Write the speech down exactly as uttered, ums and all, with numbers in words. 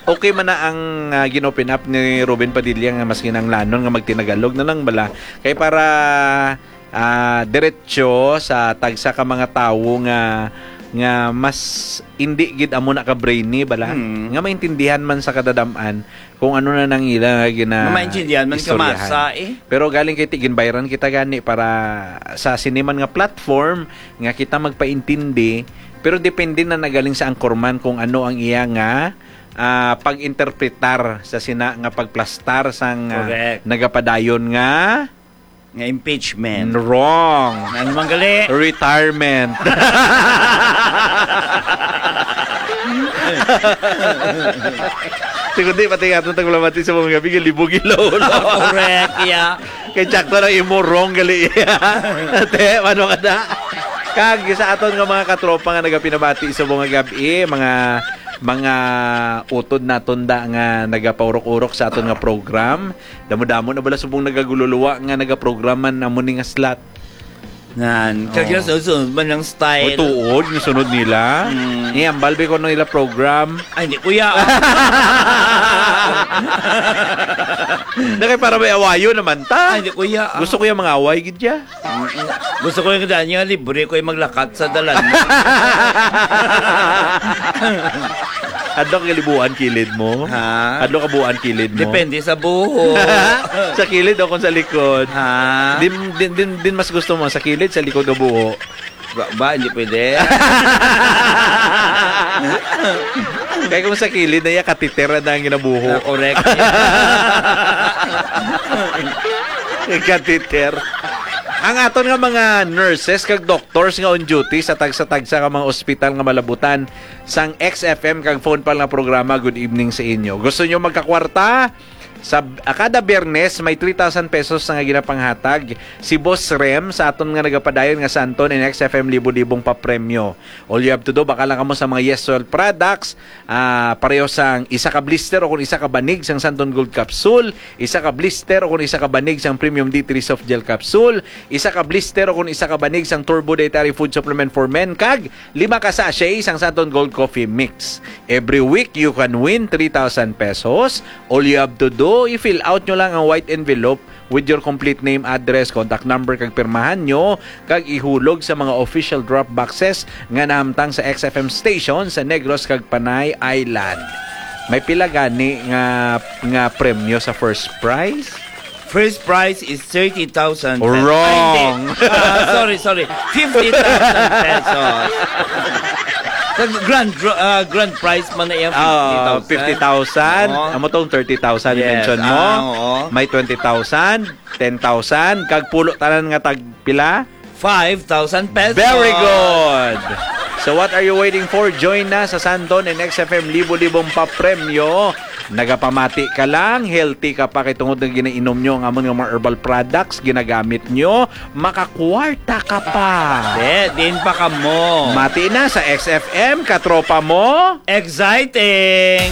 Okay man na ang, ah, gin-open up ni Ruben Padilla nga mas kinahanglanon nga magtinagalog na lang bala. Kay para, ah, diretso sa tagsa ka mga tawo nga, nga mas indi gid amo na ka brainy bala, Hmm. nga maintindihan man sa kadadam-an kung ano na nang ila nga gina-, Nga maintindihan man istoryahan. Kamasa, eh. Pero galing kay ti-, ginbayran kita gani para sa sini man nga platform nga kita magpaintindi, pero depende na nagaling sa anchorman kung ano ang iya nga, ah, pag-interpretar sa sina nga pagplastar sang, ah, Correct. Nagapadayon nga Nga impeachment. Wrong. Ano man gali? Retirement. Siguro di, pati nga itong taglamati sa mga gabi, libog ilaw. Correct, yeah. Kay Jack to lang imo wrong gali. Ate, ano ka na? Kag sa aton nga mga katropa nga nagapinabati sa mga gabi, mga, mga utod naton da nga nagapaurok-urok sa aton nga program. Damo-damo na bala subong nagagululuwa nga nagaprogram man amo ni nga slot. Nan, kag Oo. Sunod-sunod man ang style. Oy, tuod, yung sunod nila. Mm. Ni ambal ba ko nila program? Ay, hindi, kuya. Na kay para may awayo naman ta. Ay, hindi, kuya. Gusto ko yung mga away, gid ya. Mm-mm. Gusto ko yung daan niya, libre ko yung maglakat sa dalan. Adlaw ka libuan kilid mo? Ha? Adlaw ka buan kilid mo? Depende sa buho. Sa kilid o kung sa likod? Ha? Din, din, din, din mas gusto mo sa kilid, sa likod o buho? Ba, ba, hindi pwede. Kaya kung sa kilid na iya, katitera na ang ginabuho. Ah, correct. Katiter. Ang aton nga mga nurses kag doctors nga on duty sa tagsa-tagsa nga mga ospital nga malabutan sang X F M kag Phone Pal nga programa, good evening sa inyo. Gusto nyo magkakwarta? Sa, ah, kada Biyernes, may three thousand pesos nga ginapanghatag si Boss Rem sa aton nga nagapadayon nga Santon and X F M libo-libong papremyo. All you have to do, baka lang kamo sa mga Yes Soil products, ah, pareho sang isa ka blister o kung isa ka banig sang Santon Gold Capsule, isa ka blister o kung isa ka banig sang Premium D three Soft Gel Capsule, isa ka blister o kung isa ka banig sang Turbo Dietary Food Supplement for Men, kag lima ka sachet sang Santon Gold Coffee Mix. Every week, you can win three thousand pesos. All you have to do, i-fill out nyo lang ang white envelope with your complete name, address, contact number, kag pirmahan nyo, kag ihulog sa mga official drop boxes nga nahamtang sa X F M station sa Negros kag Panay Island. May pila gani nga, nga premyo sa first prize? First prize is thirty thousand pesos. Wrong. Ay, hindi. Ah, sorry, sorry. Fifty thousand pesos. Sa grand dra-, ah, grand prize man na yan, Ah, fifty thousand. Fifty thousand. Oo. Amo tong thirty thousand Yes, i-mention mo. Ah, oo. May twenty thousand, ten thousand, kag pulo tanan nga tag pila? Five thousand pesos. Very good. So what are you waiting for? Join na sa Santon and X F M libo-libong papremyo. Nagapamati ka lang, healthy ka pa kay tungod nga ginainom nyo ang amon nga mga herbal products, ginagamit nyo, makakwarta ka pa. Di, din pa kamo. Mati na sa X F M, katropa mo. Exciting!